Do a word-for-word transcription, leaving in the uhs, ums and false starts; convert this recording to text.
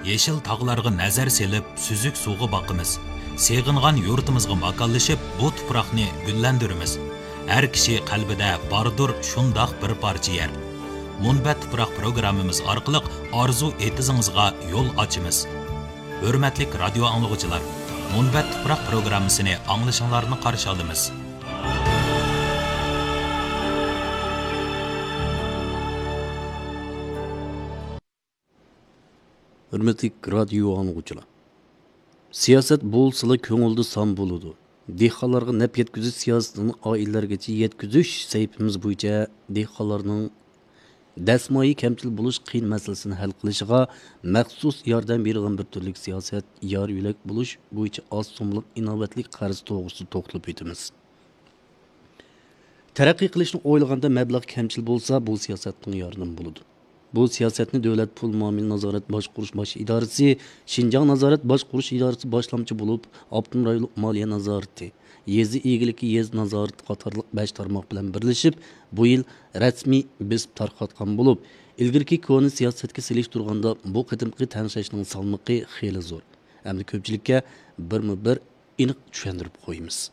يېشىل تاغلارغا نەزەر سېلىپ، سۈزۈك سۇغا باقىمىز. سېغىنغان يۇرتىمىزغا ماكانلىشىپ، بۇ تۇپراقنى گۈللەندۈرىمىز. ھەر كىشى قەلبىدە باردۇر شۇنداق بىر پارچە يەر. مۇنبەت تۇپراق پروگراممىمىز ئارقىلىق ئارزۇ ئېتىزىڭىزغا يول ئاچىمىز. ھۆرمەتلىك رادىيو ئاڭلىغۇچىلار، مۇنبەت تۇپراق پروگراممىسىنى ئاڭلىشىڭلارنى قارشى ئالىمىز. ھۆرمەتلىك رادىيو ئاڭلىغۇچىلار، سىياسەت بولسىلا كۆڭۈلدە سان بولىدۇ. دېھقانلارغا نەپ يەتكۈزۈش سىياسىتىنى ئائىلىلەرگىچە يەتكۈزۈش سەھىپىمىز بويىچە دېھقانلارنىڭ دەسمايە كەمچىل بولۇش قىيىن مەسىلىسىنى ھەل قىلىشىغا مەخسۇس ياردەم بېرىدىغان بىر تۈرلۈك سىياسەت يار يۆلەك بولۇش بويىچە ئاز سوملۇق ئىناۋەتلىك قەرز توغرىسىدا توختىلىپ ئۆتىمىز. تەرەققىي قىلىشنى ئويلىغاندا مەبلەغ كەمچىل بولسا، بۇ سىياسەتنىڭ ياردىمى بولىدۇ. بۇ سىياسەتنى دۆلەت پۇل مۇئامىلە نازارەت باشقۇرۇش باش ئىدارىسى، شىنجاڭ نازارەت باشقۇرۇش ئىدارىسى باشلامچى بولۇپ، ئاپتونوم رايونلۇق مالىيە نازارىتى، يېزا ئىگىلىكى يېزا نازارىتى قاتارلىق بەش تارماق بىلەن بىرلىشىپ، بۇ يىل رەسمىي بېسىپ تارقاتقان بولۇپ، ئىلگىرىكى كونا سىياسەتكە سېلىشتۇرغاندا بۇ قېتىمقى تەڭشەشنىڭ سالمىقى خېلى زور. ئەمدى كۆپچىلىككە بىرمۇ بىر ئېنىق چۈشەندۈرۈپ قويىمىز.